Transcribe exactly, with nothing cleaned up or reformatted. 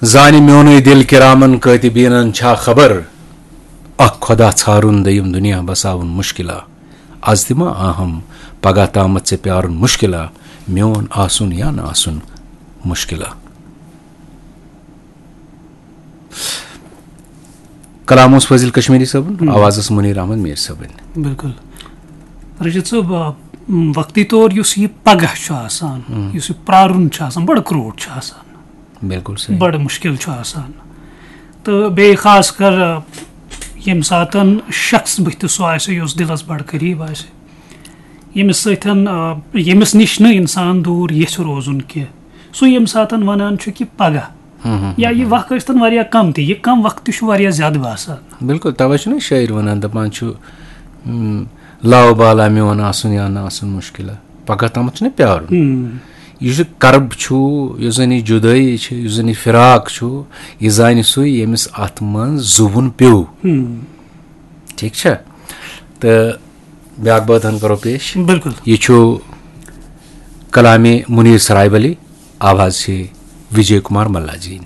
زانہِ میونُے دِل کِرامن کٲتِبیٖنن چھا خبر؟ اکھ خۄدا ژھارُن، دوٚیِم دُنیا بساوُن مُشکِلا۔ از تہِ ما آہم، پگاہ تامتھ ژےٚ پیارُن مُشکِلا۔ میون آسُن یا نہٕ آسُن مُشکِلا۔ کلام اوس فٲضل کشمیری صٲبُن، ہم۔ آواز ٲس منیر احمد میر صٲبٕنۍ۔ بِلکُل۔ رشیٖد صٲب، آ، وقتی طور یُس یہِ پگاہ چھُ آسان، ہم۔ یُس یہِ پرٛارُن چھُ آسان، بڑٕ کرٛوٗٹھ چھُ آسان۔ بِلکُل صحیح۔ بڑٕ مُشکِل چھُ آسان۔ تہٕ بیٚیہِ خاص کر، آ، ییٚمہِ ساتَن شخص بٕتھِ سُہ آسہِ یُس دِلَس بڑٕ قریٖب آسہِ، ییٚمِس سۭتۍ، آ، ییٚمِس نِش نہٕ اِنسان دوٗر یژھِ روزُن کینٛہہ، سُہ ییٚمہِ ساتَن وَنان چھُ کہِ پگاہ، ہم، ہم، یا ہم، یہِ ہم۔ وقت ٲسۍتَن واریاہ کم تہِ، یہِ کم وقت تہِ چھُ واریاہ زیادٕ باسان۔ بِلکُل، تَوَے چھُنہ شٲعر وَنان، دَپان چھُ، ہم، "لاو بالا میون آسُن یا نہٕ آسُن مُشکِلا، پگاہ تامَتھ چھُنہ پیارُن۔" ہم۔ یُس یہِ کرب چھُ، یُس زَن یہِ جُدٲیی چھِ، یُس زَن یہِ فراق چھُ، یہِ زانہِ سُے، ییٚمِس اَتھ منٛز زُوُن پیوٚو۔ ہم۔ ٹھیٖک چھا؟ تہٕ بیٛاکھ بٲتھ ہن کرو پیش۔ بِلکُل۔ یہِ چھُ کلامِ منیر سرائے ولی، آواز چھِ وجے کمار ملا جی۔